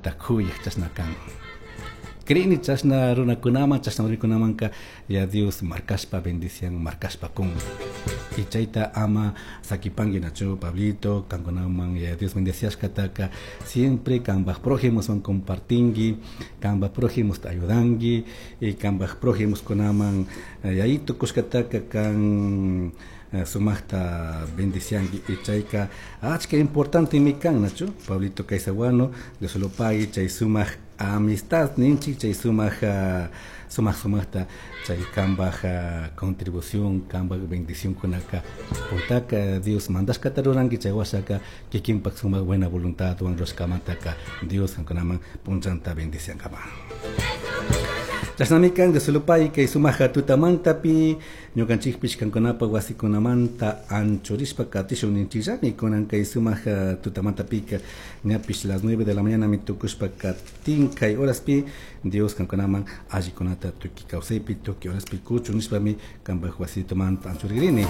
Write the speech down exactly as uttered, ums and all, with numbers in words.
Kanta kuyaj chashna kan. Crini chashna runakunaman, chashna runakunamanka ya Dios markashpa bendician, markashpa kun. Y chayta ama sakipanki nachu Pablito, kankunaman ya Dios bendeciashkataka siempre kambaj prójimoswan compartinki, kambaj prójimosta ayudanki, y kambaj prójimoskunaman yayito kushkataka kan sumajta bendicianki y chayka achka importante mi kan nachu Pablito Caizaguano, Dios lo pague, chay sumaj amistad ninchik, chay sumaj sumaj sumajta chay kambaj contribución, kambaj bendición kunaka puntaka Dios mandashkata ruranki, chay washaka kikinpak sumak buena voluntad wan rurashkamantaka Dios kankunaman punchanta bendiciankama. Chashnami kan Dios lo pague kay sumaja tutamantapi ñukanchikpish kankunapa wasikunamanta anchurishpa katishun ninchikllami kunan kay sumaja tutamantapika ñapish las nueve de la mañana mi tukushpa katin kay horaspi Dios kankunaman allikunata tukuy kawsaypi tukuy horaspi kuchun nishpami kanpak wasitumanta anchurigrini.